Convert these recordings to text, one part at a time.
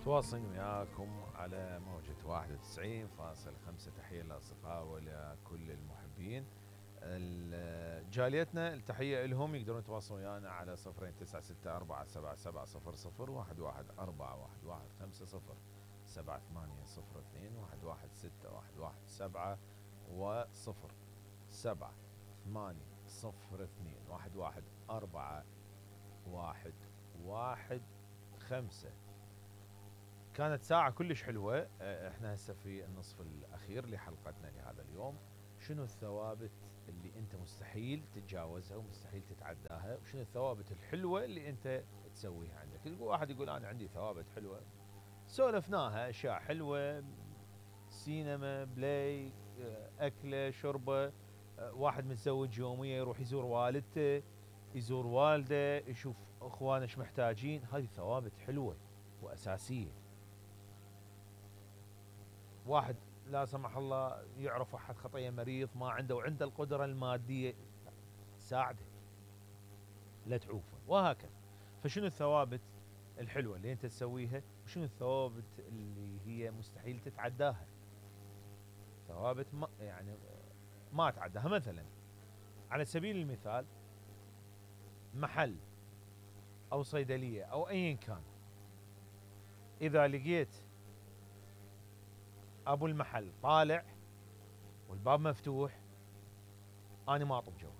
تواصل وياكم على موجة 91.5. تحية للأصدقاء ولكل المحبين. جاليتنا التحية لهم، يقدرون يتواصلون ويانا على 0964777704 78021117 و7802111715. كانت ساعة كلش حلوة. احنا هسه في النصف الأخير لحلقتنا لهذا اليوم. شنو الثوابت اللي انت مستحيل تتجاوزها ومستحيل تتعداها، وشنو الثوابت الحلوة اللي انت تسويها عندك؟ واحد يقول انا عندي ثوابت حلوة، سولفناها، اشياء حلوة، سينما، بلاي، اكله، شربة، واحد متزوج يوميا يروح يزور والدته، يزور والده، يشوف اخوانه ايش محتاجين. هذه ثوابت حلوة واساسية. واحد لا سمح الله يعرف احد خطيه مريض ما عنده وعنده القدره الماديه، ساعده لا تعوفه، وهكذا. فشنو الثوابت الحلوه اللي انت تسويها، وشنو الثوابت اللي هي مستحيل تتعداها؟ ثوابت ما تعداها. مثلا على سبيل المثال، محل او صيدليه او ايا كان، اذا لقيت ابو المحل طالع والباب مفتوح، انا ما اطب جوه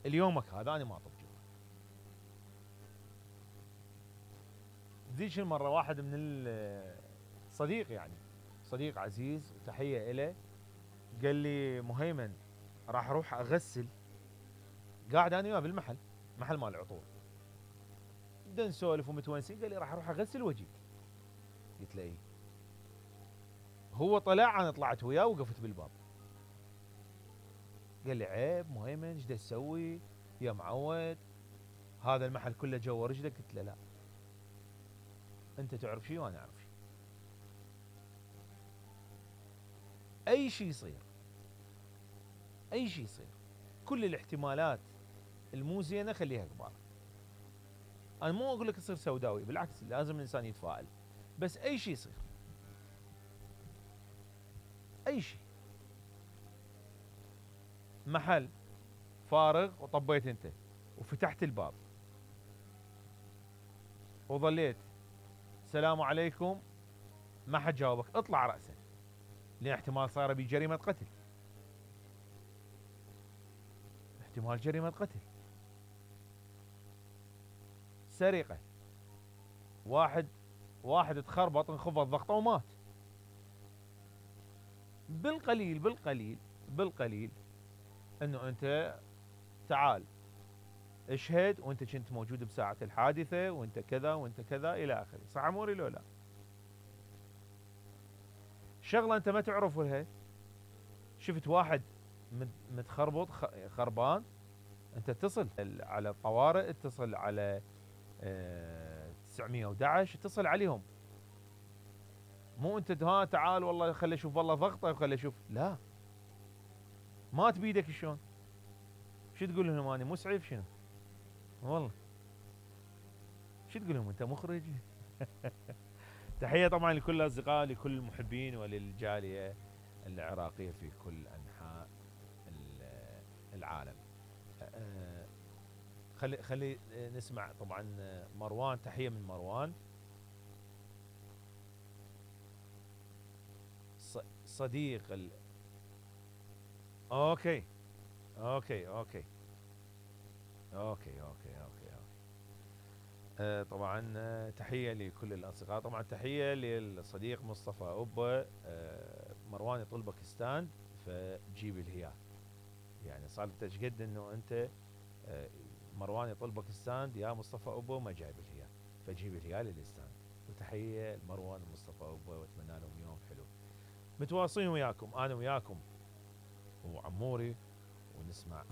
اليومك هذا، انا ما اطب جوه. ذيك المره واحد من الصديق، يعني صديق عزيز وتحيه له، قال لي مهيمن راح اروح اغسل، قاعد انا وياه بالمحل، محل مال العطور، بدنا نسولف ومتونسين، قال لي راح اروح اغسل واجيك. قلت له ايه. هو طلع، انا طلعت وياه وقفت بالباب. قال لي عيب مهيمن، ايش تسوي يا معود؟ هذا المحل كله جوا رجلك. قلت له لا، انت تعرف شيء وانا اعرف شيء. اي شيء يصير، اي شيء يصير، كل الاحتمالات المو زينه خليها كبار. انا مو اقول لك يصير سوداوي، بالعكس لازم الانسان يتفائل، بس اي شيء يصير، اي شيء. محل فارغ وطبيت انت وفتحت الباب وظليت السلام عليكم، ما حد جاوبك، اطلع راسا، لان احتمال صار بي جريمه قتل، احتمال جريمه قتل، سرقه، واحد تخربط انخفض ضغطه ومات. بالقليل انه انت تعال اشهد وانت كنت موجود بساعة الحادثة، وانت كذا وانت كذا الى اخره. صح اموري لو لا؟ شغلة انت ما تعرفها، شفت واحد متخربط خربان، انت اتصل على الطوارئ، اتصل على 911، اتصل عليهم. مو انت تعال والله خلي اشوف والله ضغطه وخلي اشوف، لا، مات بيدك شلون؟ شو تقول لهم اني مسعف؟ شنو والله شو تقول لهم انت مخرج؟ تحيه طبعا لكل الاصدقاء، لكل المحبين وللجاليه العراقيه في كل انحاء العالم. خلي نسمع طبعا مروان. تحيه من مروان، صديق اوكي اوكي اوكي اوكي اوكي اوكي, أوكي. طبعا تحيه لكل الاصدقاء، طبعا تحيه للصديق مصطفى اوبا. مروان يطلبك ستاند فجيب الهياه، يعني صار ايش قد انه انت مروان يطلبك ستاند يا مصطفى اوبا وما جايب الهياه، فجيب الهياه للستاند. وتحيه لمروان ومصطفى اوبا، واتمنى لهم يوم حلو. متواصلين وياكم انا وياكم وعموري، ونسمع